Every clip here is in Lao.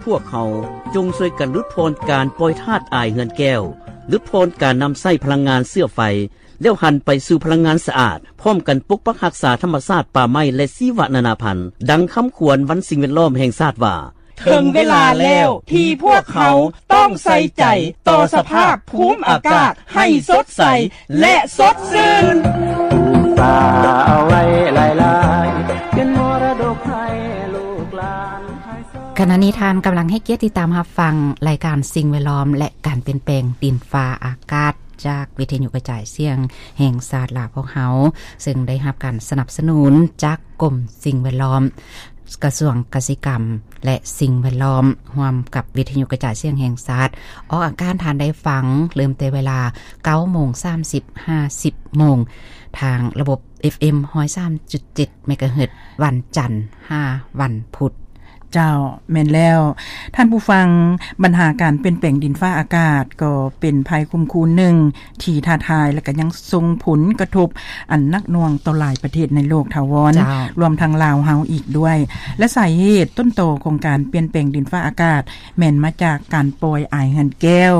ພວກເຮົາຈົ່ງຊ່ວຍກັນຫຼຸດຜ່ອນການປ່ອຍທາດອາຍເຮືອນແກ້ວ, ຫຼຸດຜ່ອນການນຳໃຊ້ພະລັງງານເຊື້ອໄຟ, ແລ້ວຫັນໄປສູ່ພະລັງງານສະອາດ, ພ້ອມກັນປົກປັກຮັກສາທຳມະຊາດ, ປ່າໄມ້ ແລະ ຊີວະນານາພັນ. ດັ່ງຄຳຂວັນວັນສິ່ງແວດລ້ອມແຫ່ງຊາດວ່າ, ເຖິງເວລາແລ້ວທີ່ພວກເຮົາຕ້ອງໃສ່ໃຈຕໍ່ສະພາບພູມອາກາດໃຫ້ສົດໃສ ແລະ ສົດຊື່ນ. ປູກປ່າເອົາໄວ້ຫຼາຍໆ ເປັນມໍລະດົກໃຫ້ລູກຫຼານ. ຂະນະນີ້ທ່ານກຳລັງໃຫ້ກຽດຕິດຕາມຮັບຟັງລາຍການສິ່ງແວດລ້ອມ ແລະ ການປ່ຽນແປງດິນຟ້າອາກາດ ຈາກວິທະຍຸກະຈາຍສຽງແຫ່ງຊາດລາວພວກເຮົາ, ເຊິ່ງໄດ້ຮັບການສະໜັບສະໜູນຈາກກົມສິ່ງແວດລ້ອມ, ກະຊວງກະສິກຳ ແລະ ສິ່ງແວດລ້ອມ ຮ່ວມກັບວິທະຍຸກະຈາຍສຽງແຫ່ງຊາດ ອອກອາກາດທ່ານໄດ້ຟັງ ເລີ່ມແຕ່ເວລາເກົ້າໂມງສາມສິບ ຫາສິບໂມງ ທາງລະບົບ ເອັຟເອັມ ຮ້ອຍສາມຈຸດເຈັດ ເມກາເຮີດ ວັນຈັນ ຫາ ວັນພຸດ. ເຈົ້າ, ແມ່ນແລ້ວ. ທ່ານຜູ້ຟັງ, ບັນຫາການປ່ຽນແປງດິນຟ້າອາກາດກໍເປັນໄພຂົ່ມຂູ່ໜຶ່ງທີ່ທ້າທາຍ ແລະ ກໍຍັງສົ່ງຜົນກະທົບອັນໜັກໜ່ວງຕໍ່ຫຼາຍປະເທດໃນໂລກ, ຖາວອນ, ເຈົ້າ. ລວມທັງລາວເຮົາອີກດ້ວຍ. ແລະ ສາເຫດຕົ້ນຕໍຂອງການປ່ຽນແປງດິນຟ້າອາກາດ ແມ່ນມາຈາກການປ່ອຍອາຍເຮືອນແກ້ວ,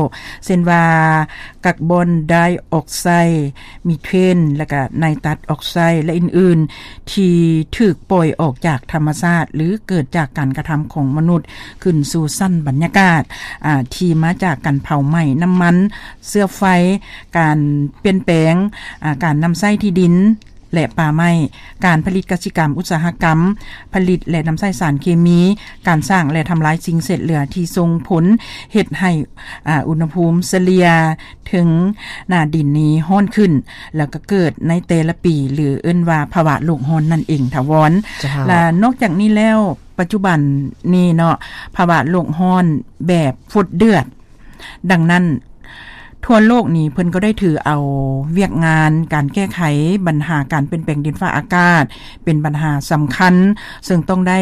ເຊັ່ນວ່າ ກາບອນໄດອອກໄຊ, ມີເທນ ແລະ ກະໄນຕັດອອກໄຊ ແລະ ອື່ນໆ ທີ່ຖືກປ່ອຍອອກຈາກທຳມະຊາດ ຫຼື ເກີດຈາກການກະທຳຂອງມະນຸດ ຂຶ້ນສູ່ຊັ້ນບັນຍາກາດ, ອາ, ທີ່ມາຈາກການເຜົາໄໝ້ນ້ຳມັນເຊື້ອໄຟ, ການປ່ຽນແປງ, ອາ, ການນຳໃຊ້ທີ່ດິນ ແລະ ປ່າໄມ້, ການຜະລິດກະສິກຳອຸດສາຫະກຳ, ຜະລິດ ແລະ ນຳໃຊ້ສານເຄມີ, ການສ້າງ ແລະ ທຳລາຍສິ່ງເສດເຫຼືອທີ່ສົ່ງຜົນເຮັດໃຫ້, ອາ, ອຸນຫະພູມສະເລ່ຍເຖິງໜ້າດິນນີ້ຮ້ອນຂຶ້ນ ແລ້ວກໍເກີດໃນແຕ່ລະປີ ຫຼື ເອີ້ນວ່າພາວະໂລກຮ້ອນນັ້ນເອງ ຖາວອນ. ເຈົ້າ. ແລະ ນອກຈາກນີ້ແລ້ວ, ປັດຈຸບັນນີ້ເນາະ, ພາວະໂລກຮ້ອນແບບຟົດເດືອດ. ດັ່ງນັ້ນ, ທົ່ວໂລກນີ້ເພິ່ນກໍໄດ້ຖືເອົາວຽກງານການແກ້ໄຂບັນຫາການປ່ຽນແປງດິນຟ້າອາກາດເປັນບັນຫາສຳຄັນ, ເຊິ່ງຕ້ອງໄດ້,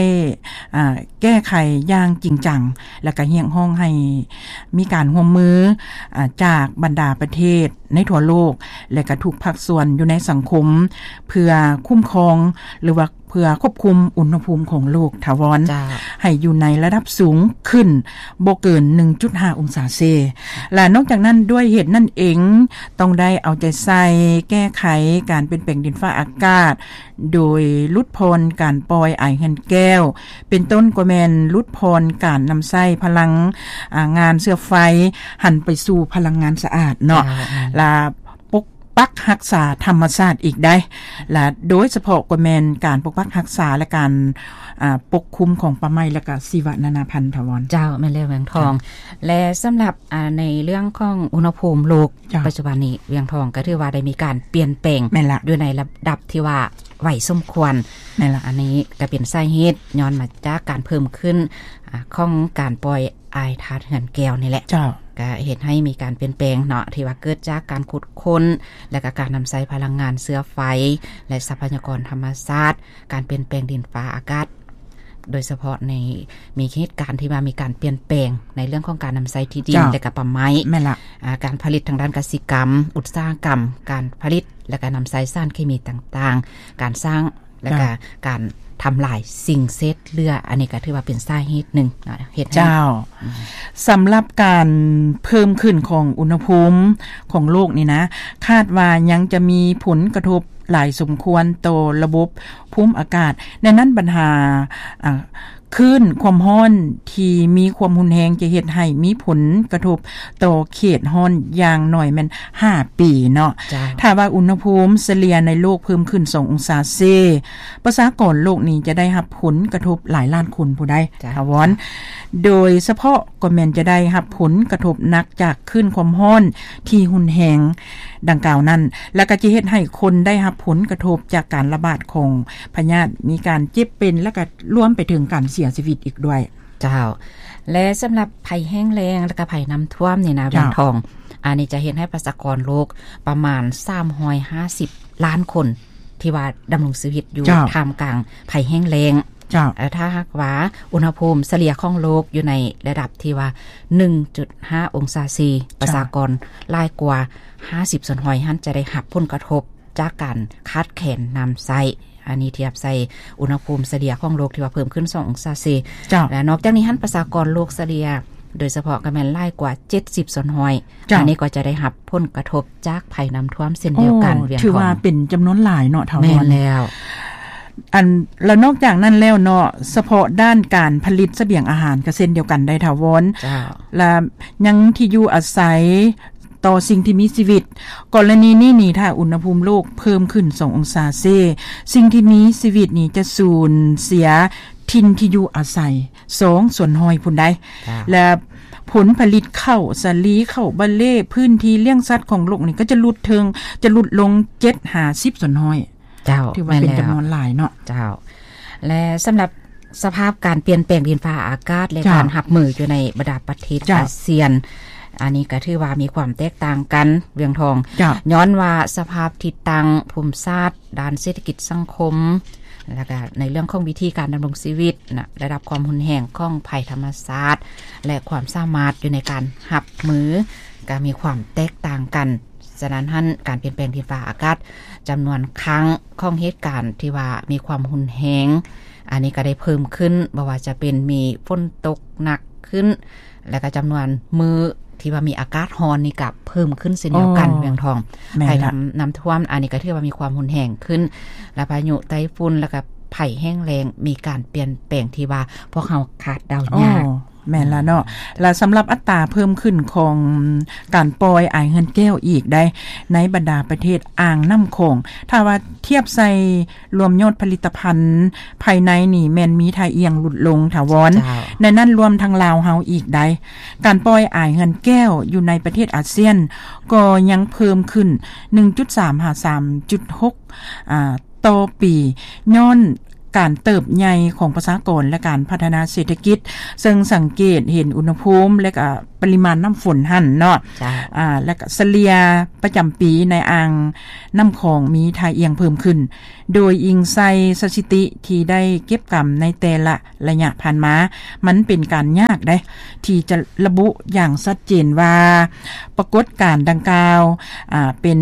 ອາ, ແກ້ໄຂຢ່າງຈິງຈັງ ແລະ ກະຮຽກຮ້ອງໃຫ້ມີການຮ່ວມມື, ອາ, ຈາກບັນດາປະເທດໃນທົ່ວໂລກ ແລະ ກະທຸກພາກສ່ວນຢູ່ໃນສັງຄົມ ເພື່ອຄຸ້ມຄອງ ຫຼືວ່າ ເພື່ອຄວບຄຸມອຸນຫະພູມຂອງໂລກ ຖາວອນ ເຈົ້າ. ໃຫ້ຢູ່ໃນລະດັບສູງຂຶ້ນບໍ່ເກີນໜຶ່ງຈຸດຫ້າອົງສາເຊ. ແລະ ນອກຈາກນັ້ນ, ດ້ວຍເຫດນັ້ນເອງ, ຕ້ອງໄດ້ເອົາໃຈໃສ່ແກ້ໄຂການປ່ຽນແປງດິນຟ້າອາກາດ ໂດຍຫຼຸດຜ່ອນການປ່ອຍອາຍເຮືອນແກ້ວ, ເປັນຕົ້ນກໍແມ່ນຫຼຸດຜ່ອນການນຳໃຊ້ພະລັງ, ອາ, ງານເຊື້ອໄຟ, ຫັນໄປສູ່ພະລັງງານສະອາດເນາະ. ເຈົ້າ. ແລະ ປົກປັກຮັກສາທຳມະຊາດອີກໄດ໋ ແລະ ໂດຍສະເພາະກໍແມ່ນການປົກປັກຮັກສາ ແລະ ການ, ອາ, ປົກຄຸມຂອງປ່າໄມ້ ແລະ ກະຊີວະນານາພັນ ຖາວອນ. ເຈົ້າ, ແມ່ນແລ້ວ ວຽງທອງ. ເຈົ້າ. ແລະ ສຳລັບ, ອາ, ໃນເລື່ອງຂອງອຸນຫະພູມໂລກ, ເຈົ້າ. ປັດຈຸບັນນີ້ວຽງທອງກໍຖືວ່າໄດ້ມີການປ່ຽນແປງ, ແມ່ນລະ, ຢູ່ໃນລະດັບທີ່ວ່າໄວສົມຄວນ. ແມ່ນລະ. ອັນນີ້ກໍເປັນສາເຫດຍ້ອນມາຈາກການເພີ່ມຂຶ້ນ, ອາ, ຂອງການປ່ອຍ ອາຍທາດເຮືອນແກ້ວນີ້ແຫຼະ. ເຈົ້າ. ກະເຮັດໃຫ້ມີການປ່ຽນແປງເນາະ ທີ່ວ່າເກີດຈາກການຂຸດຄົ້ນ ແລະ ກະການນຳໃຊ້ພະລັງງານເຊື້ອໄຟ ແລະ ຊັບພະຍາກອນທຳມະຊາດ, ການປ່ຽນແປງດິນຟ້າອາກາດ, ໂດຍສະເພາະໃນ ມີເຫດການທີ່ວ່າມີການປ່ຽນແປງໃນເລື່ອງຂອງການນຳໃຊ້ທີ່ດິນ ເຈົ້າ. ແລະ ກະປ່າໄມ້. ແມ່ນລະ. ອາ, ການຜະລິດທາງດ້ານກະສິກຳ, ອຸດສາຫະກຳ, ການຜະລິດ ແລະ ກະນຳໃຊ້ສານເຄມີຕ່າງໆ, ການສ້າງ ແລະກະ ເຈົ້າ ການທຳລາຍສິ່ງເສດເຫຼືອ, ອັນນີ້ກໍຖືວ່າເປັນສາເຫດໜຶ່ງເນາະ ເຮັດໃຫ້ ເຈົ້າ ອືມ ສຳລັບການເພີ່ມຂຶ້ນຂອງອຸນຫະພູມຂອງໂລກນີ້ນະ ຄາດວ່າຍັງຈະມີຜົນກະທົບຫຼາຍສົມຄວນຕໍ່ລະບົບພູມອາກາດ, ໃນນັ້ນບັນຫາ ອາ ຄື້ນຄວາມຮ້ອນທີ່ມີຄວາມຮຸນແຮງຈະເຮັດໃຫ້ມີຜົນກະທົບຕໍ່ເຂດຮ້ອນຢ່າງໜ້ອຍແມ່ນຫ້າປີເນາະ. ເຈົ້າ. ຖ້າວ່າອຸນຫະພູມສະເລ່ຍໃນໂລກເພີ່ມຂຶ້ນສອງອົງສາເຊ, ປະຊາກອນໂລກນີ້ຈະໄດ້ຮັບຜົນກະທົບຫຼາຍລ້ານຄົນຜູ້ໃດ ເຈົ້າ ຖາວອນ, ໂດຍສະເພາະກໍແມ່ນຈະໄດ້ຮັບຜົນກະທົບໜັກຈາກຄື້ນຄວາມຮ້ອນທີ່ຮຸນແຮງດັ່ງກ່າວນັ້ນ, ແລະກໍຈະເຮັດໃຫ້ຄົນໄດ້ຮັບຜົນກະທົບຈາກການລະບາດຂອງພະຍາດ, ມີການເຈັບເປັນ ແລະກໍລວມໄປເຖິງການເສຍຊີວິດອີກດ້ວຍ. ເຈົ້າ ແລະສຳລັບໄພແຫ້ງແລ້ງ ແລະກະໄພນ້ຳຖ້ວມນີ້ນະ ເຈົ້າ ວຽງທອງ, ອັນນີ້ຈະເຮັດໃຫ້ປະຊາກອນໂລກປະມານສາມຮ້ອຍຫ້າສິບລ້ານຄົນ ທີ່ວ່າດຳລົງຊີວິດຢູ່ ເຈົ້າ ທ່າມກາງໄພແຫ້ງແລ້ງ. ເຈົ້າ. ແລະຖ້າຫາກວ່າອຸນຫະພູມສະເລ່ຍຂອງໂລກຢູ່ໃນລະດັບທີ່ວ່າໜຶ່ງຈຸດຫ້າອົງສາເຊ, ເຈົ້າ ປະຊາກອນຫຼາຍກວ່າຫ້າສິບສ່ວນຮ້ອຍຫັ້ນ ຈະໄດ້ຮັບຜົນກະທົບຈາກການຂາດແຄນນ້ຳໃຊ້. ອັນນີ້ທຽບໃສ່ອຸນຫະພູມສະເລ່ຍຂອງໂລກທີ່ວ່າເພີ່ມຂຶ້ນສອງອົງສາເຊ. ເຈົ້າ. ແລະ ນອກຈາກນີ້ຫັ້ນ ປະຊາກອນໂລກສະເລ່ຍ ໂດຍສະເພາະກໍແມ່ນຫຼາຍກວ່າເຈັດສິບສ່ວນຮ້ອຍ. ເຈົ້າ. ອັນນີ້ກໍຈະໄດ້ຮັບຜົນກະທົບຈາກໄພນ້ຳຖ້ວມເຊັ່ນດຽວກັນ. ໂອ້ ວຽງທອງ ຖືວ່າເປັນຈຳນວນຫຼາຍເນາະ ທ້າວ ແມ່ນແລ້ວ. ອັນ ແລະ ນອກຈາກນັ້ນແລ້ວເນາະ ສະເພາະດ້ານການຜະລິດສະບຽງອາຫານກໍເຊັ່ນດຽວກັນໄດ໋ ທ້າວວອນ. ເຈົ້າ. ແລະ ຍັງທີ່ຢູ່ອາໄສ ຕໍ່ສິ່ງທີ່ມີຊີວິດ. ກໍລະນີນີ້ນີ້ ຖ້າອຸນຫະພູມໂລກເພີ່ມຂຶ້ນສອງອົງສາເຊ, ສິ່ງທີ່ມີຊີວິດນີ້ຈະສູນເສຍຖິ່ນທີ່ຢູ່ອາໄສສອງສ່ວນຮ້ອຍພຸ້ນໃດ໋. ເຈົ້າ. ແລະ ຜົນຜະລິດເຂົ້າສາລີ, ເຂົ້າບາເລ, ພື້ນທີ່ລ້ຽງສັດຂອງໂລກນີ້ກໍຈະຫຼຸດເຖິງ, ຈະຫຼຸດລົງເຈັດຫາສິບສ່ວນຮ້ອຍ. ເຈົ້າ. ຖືວ່າເປັນ ແມ່ນແລ້ວ ຈຳນວນຫຼາຍເນາະ. ເຈົ້າ. ແລະ ສຳລັບສະພາບການປ່ຽນແປງດິນຟ້າອາກາດ ແລະ ເຈົ້າ ການຮັບມືຢູ່ໃນບັນດາປະເທດ ເຈົ້າ ອາຊຽນ, ອັນນີ້ກໍຖືວ່າມີຄວາມແຕກຕ່າງກັນ ວຽງທອງ. ເຈົ້າ. ຍ້ອນວ່າສະພາບທີ່ຕັ້ງພູມສາດ ດ້ານເສດຖະກິດສັງຄົມ ແລ້ວກໍໃນເລື່ອງຂອງວິທີການດຳລົງຊີວິດນະ, ລະດັບຄວາມຮຸນແຮງຂອງໄພທຳມະຊາດ ແລະ ຄວາມສາມາດຢູ່ໃນການຮັບມື ກໍມີຄວາມແຕກຕ່າງກັນ. ສະນັ້ນຫັ້ນ ການປ່ຽນແປງດິນຟ້າອາກາດ ຈຳນວນຄັ້ງຂອງເຫດການທີ່ວ່າມີຄວາມຮຸນແຮງ ອັນນີ້ກໍໄດ້ເພີ່ມຂຶ້ນ, ບໍ່ວ່າຈະເປັນມີຝົນຕົກໜັກຂຶ້ນ ແລະ ກໍຈຳນວນມື້ທີ່ວ່າມີອາກາດຮ້ອນນີ້ກໍເພີ່ມຂຶ້ນເຊັ່ນດຽວກັນ ໂອ້ ວຽງທອງ. ແມ່ນລະ. ໄພນ້ຳ ນ້ຳຖ້ວມ ອັນນີ້ກໍຖືວ່າມີຄວາມຮຸນແຮງຂຶ້ນ ແລະ ພາຍຸໄຕ້ຝຸ່ນ ແລ້ວກໍໄພແຫ້ງແລ້ງ ມີການປ່ຽນແປງທີ່ວ່າພວກເຮົາຄາດເດົາຍາກ. ໂອ້ ແມ່ນລະເນາະ. ແລະ ສຳລັບອັດຕາເພີ່ມຂຶ້ນຂອງການປ່ອຍອາຍເຮືອນແກ້ວອີກໃດ໋ ໃນບັນດາປະເທດອ່າງນ້ຳຂອງ, ຖ້າວ່າທຽບໃສ່ລວມຍອດຜະລິດຕະພັນພາຍໃນນີ້ ແມ່ນມີທ່າອ່ຽງຫຼຸດລົງ ທ້າວວອນ. ເຈົ້າ. ໃນນັ້ນລວມທັງລາວເຮົາອີກໃດ໋. ການປ່ອຍອາຍເຮືອນແກ້ວຢູ່ໃນປະເທດອາຊຽນກໍຍັງເພີ່ມຂຶ້ນ ໜຶ່ງຈຸດສາມ ຫາ ສາມຈຸດຫົກ ອ່າ ຕໍ່ປີ ຍ້ອນການເຕີບໃຫຍ່ຂອງປະຊາກອນ ແລະ ການພັດທະນາເສດຖະກິດ, ເຊິ່ງສັງເກດເຫັນອຸນຫະພູມ ແລະ ກະປະລິມານນ້ຳຝົນຫັ້ນເນາະ. ເຈົ້າ. ອ່າ ແລະ ກະສະເລ່ຍປະຈຳປີໃນອ່າງນ້ຳຂອງມີທ່າອ່ຽງເພີ່ມຂຶ້ນ. ໂດຍອີງໃສ່ສະຖິຕິທີ່ໄດ້ເກັບກຳໃນແຕ່ລະໄລຍະຜ່ານມາ, ມັນເປັນການຍາກເດ້ ທີ່ຈະລະບຸຢ່າງຊັດເຈນວ່າ ປາກົດການດັ່ງກ່າວ ອ່າ ເປັນ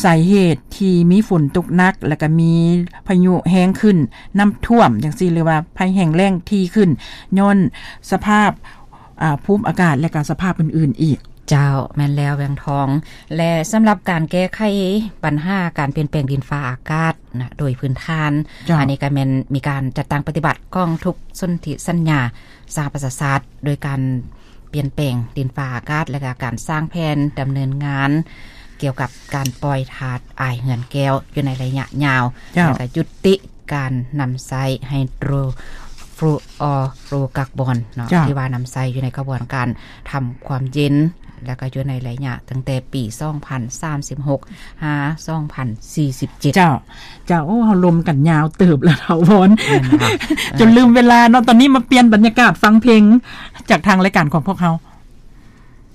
ສາເຫດທີ່ມີຝົນຕົກໜັກ ແລະ ກະມີພາຍຸແຮງຂຶ້ນ, ນ້ຳຖ້ວມຈັ່ງຊີ້ ຫຼືວ່າໄພແຫ້ງແລ້ງຖີ່ຂຶ້ນ ຍ້ອນສະພາບ ອ່າ ພູມອາກາດ ແລະ ກະສະພາບອື່ນໆອີກ. ເຈົ້າ, ແມ່ນແລ້ວ ວຽງທອງ. ແລະ ສຳລັບການແກ້ໄຂບັນຫາການປ່ຽນແປງດິນຟ້າອາກາດນະ ໂດຍພື້ນຖານ, ເຈົ້າ. ອັນນີ້ກໍແມ່ນມີການຈັດຕັ້ງປະຕິບັດຂອງທຸກສົນທິສັນຍາສະຫະປະຊາຊາດ ໂດຍການປ່ຽນແປງດິນຟ້າອາກາດ ແລະ ກະການສ້າງແຜນດຳເນີນງານກ່ຽວກັບການປ່ອຍທາດອາຍເຮືອນແກ້ວຢູ່ໃນໄລຍະຍາວ, ເຈົ້າ. ແລະ ກະຢຸດຕິ ການນຳໃຊ້ໄຮໂດຣຟລູອໍຟລູກາບອນເນາະ ເຈົ້າ ທີ່ວ່ານຳໃຊ້ຢູ່ໃນຂະບວນການທຳຄວາມເຢັນ ແລ້ວກໍຢູ່ໃນໄລຍະຕັ້ງແຕ່ປີສອງພັນສາມສິບຫົກ ຫາ ສອງພັນສີ່ສິບເຈັດ. ເຈົ້າ ເຈົ້າ. ໂອ້ ເຮົາລົມກັນຍາວເຕີບແລ້ວ ທ້າວວອນ ແມ່ນລະ ຈົນລືມເວລາເນາະ. ຕອນນີ້ມາປ່ຽນບັນຍາກາດຟັງເພງຈາກທາງລາຍການຂອງພວກເຮົາ.